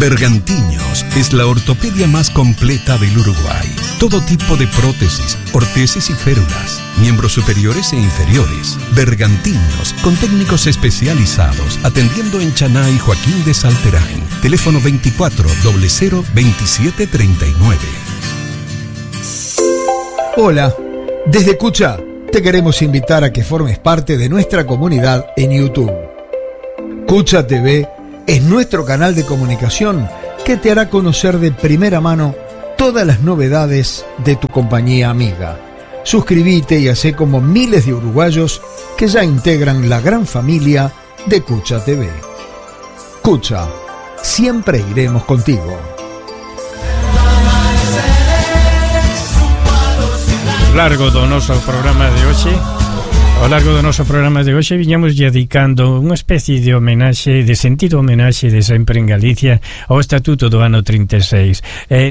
Bergantiños es la ortopedia más completa del Uruguay. Todo tipo de prótesis, ortesis y férulas, miembros superiores e inferiores. Bergantiños, con técnicos especializados, atendiendo en Chaná y Joaquín de Salterain. Teléfono 24 00 27 39. Hola, desde Cucha te queremos invitar a que formes parte de nuestra comunidad en YouTube. Cucha TV es nuestro canal de comunicación que te hará conocer de primera mano todas las novedades de tu compañía amiga. Suscríbete y hacé como miles de uruguayos que ya integran la gran familia de Cucha TV. Cucha, siempre iremos contigo. Ao largo do noso programa de hoxe viñamos dedicando unha especie de homenaxe, de sentido homenaxe de sempre en Galicia ao Estatuto do ano 36.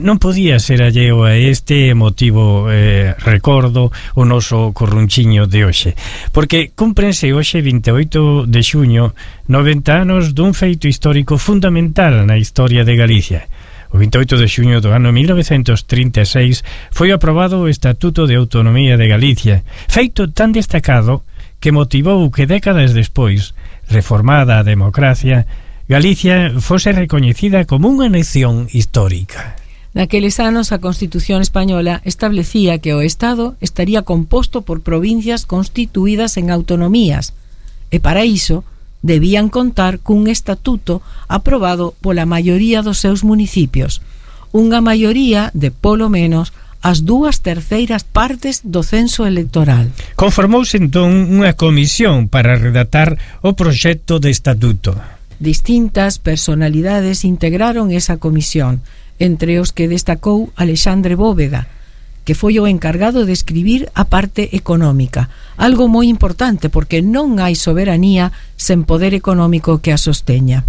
Non podía ser alleo a este emotivo recordo o noso corrunchiño de hoxe, porque cúmprense hoxe 28 de xuño 90 anos dun feito histórico fundamental na historia de Galicia. O 28 de xuño do ano 1936 foi aprobado o Estatuto de Autonomía de Galicia, feito tan destacado que motivou que décadas despois, reformada a democracia, Galicia fose recoñecida como unha nación histórica. Naqueles anos a Constitución española establecía que o Estado estaría composto por provincias constituídas en autonomías e para iso debían contar cun estatuto aprobado pola maioría dos seus municipios, unha maioría de polo menos as 2/3 partes do censo electoral. Conformouse entón unha comisión para redactar o proxecto de estatuto. Distintas personalidades integraron esa comisión, entre os que destacou Alexandre Bóveda, que foi o encargado de escribir a parte económica, algo moi importante porque non hai soberanía sen poder económico que a sosteña.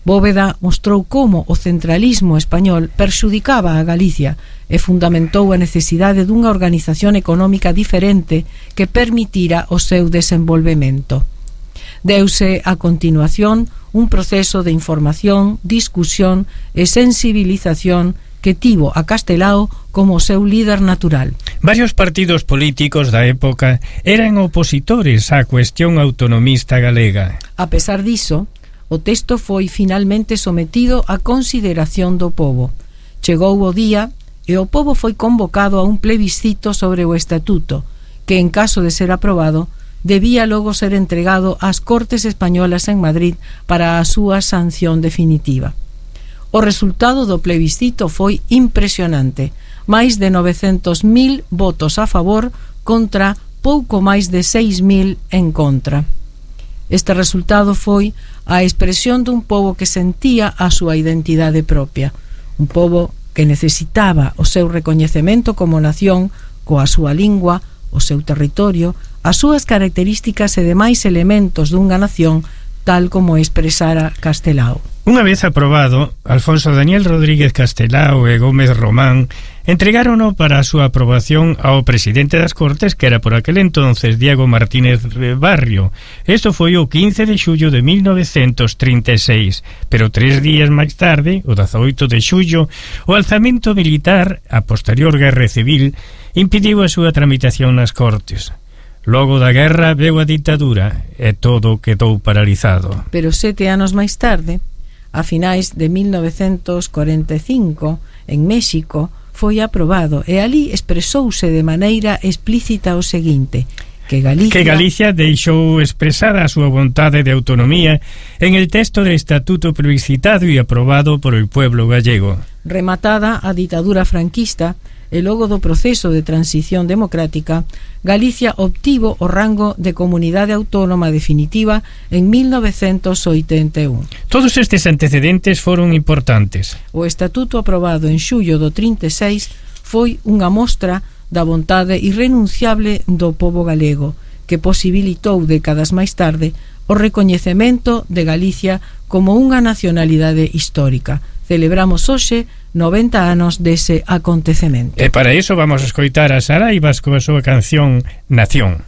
Bóveda mostrou como o centralismo español perxudicaba a Galicia e fundamentou a necesidade dunha organización económica diferente que permitira o seu desenvolvemento. Deuse a continuación un proceso de información, discusión e sensibilización que tivo a Castelao como seu líder natural. Varios partidos políticos da época eran opositores á cuestión autonomista galega. A pesar diso, o texto foi finalmente sometido a consideración do pobo. Chegou o día e o pobo foi convocado a un plebiscito sobre o estatuto, que en caso de ser aprobado, debía logo ser entregado ás Cortes Españolas en Madrid para a súa sanción definitiva. O resultado do plebiscito foi impresionante, máis de 900.000 votos a favor contra pouco máis de 6.000 en contra. Este resultado foi a expresión dun pobo que sentía a súa identidade propia, un pobo que necesitaba o seu recoñecemento como nación, coa súa lingua, o seu territorio, as súas características e demais elementos dunha nación tal como expresara Castelao. Unha vez aprobado, Alfonso Daniel Rodríguez Castelao e Gómez Román entregárono para a súa aprobación ao presidente das Cortes, que era por aquel entonces Diego Martínez Barrio. Isto foi o 15 de xullo de 1936, pero 3 días máis tarde, o 18 de xullo, o alzamento militar, a posterior guerra civil, impediu a súa tramitación nas Cortes. Logo da guerra veu a ditadura e todo quedou paralizado. Pero 7 anos máis tarde, a finais de 1945, en México, foi aprobado e ali expresouse de maneira explícita o seguinte: que Galicia deixou expresada a súa vontade de autonomía en el texto del estatuto plebiscitado e aprobado por el pueblo gallego. Rematada a ditadura franquista e logo do proceso de transición democrática, Galicia obtivo o rango de comunidade autónoma definitiva en 1981. Todos estes antecedentes foron importantes. O estatuto aprobado en xullo do 36 foi unha mostra da vontade irrenunciable do pobo galego, que posibilitou décadas máis tarde o recoñecemento de Galicia como unha nacionalidade histórica. Celebramos hoxe 90 anos dese acontecemento. E para iso vamos a escoitar a Saraivas coa súa canción Nación.